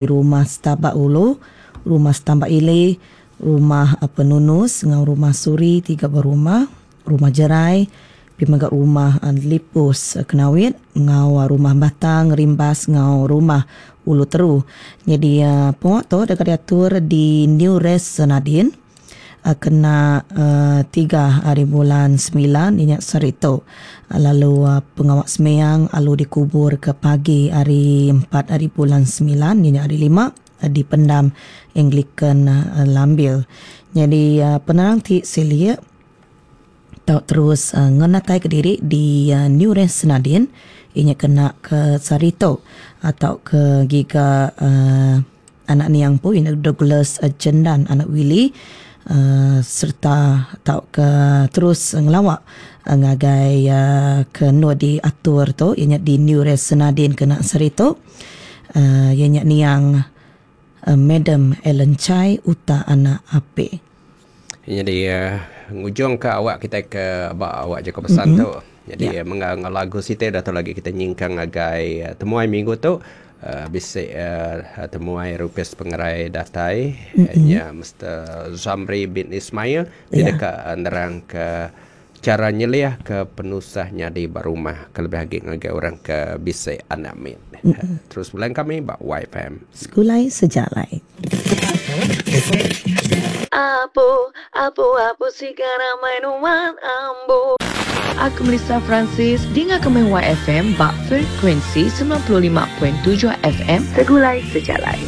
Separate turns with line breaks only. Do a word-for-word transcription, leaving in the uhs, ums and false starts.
Rumah Stabak Ulu, Rumah Stambak Ili, Rumah Penunus enggau Rumah Suri tiga buah rumah, Rumah Jerai, pia mega Rumah Lipus Kenawit enggau Rumah Batang Rimbas enggau Rumah Ulu Teru. Nyadi pengawa tu deka diatur di New Res Senadin kena tiga hari bulan semilan inya sehari tu lalu pengawa sembiang alu dikubur ke pagi hari empat hari bulan semilan inya hari lima di pendam Anglican Lambil. Nyadi penerang ti silik tau terus ngenatai kediri di New Res Senadin inya kena ke sehari tu atau ke giga anak niang pun inya Douglas Jendan anak Willie Uh, serta tau ke terus ngelawak uh, ngagai uh, ke nu diatur tu ianya di New Res Senadin kena sehari tu uh, ianya niang uh, Madam Ellen Chai Uta anak Ape.
Jadi uh, ngujung ke awak kita ke ba awak jaga pesan mm-hmm. tu. Jadi yeah. mengang lagu siti dah tu lagi kita nyingkang ngagai uh, temuai minggu tu. Uh, bisik uh, temuai Rupes Pengerai datai mm-hmm. nya Mister Zamri bin Ismail yeah. Dia dekat nerang ke cara nyeliah ke penusahnya di rumah kelebih lagi ngagai orang ke bisik anak mit. Mm-hmm. Terus bulan kami bak Y F M.
Sekulai sejalai.
Apo apo apo sigara mainuan ambo.
Aku Melissa Francis, dengar kami Y F M bak frekuensi sembilan puluh lima perpuluhan tujuh F M Segulai Sejalai.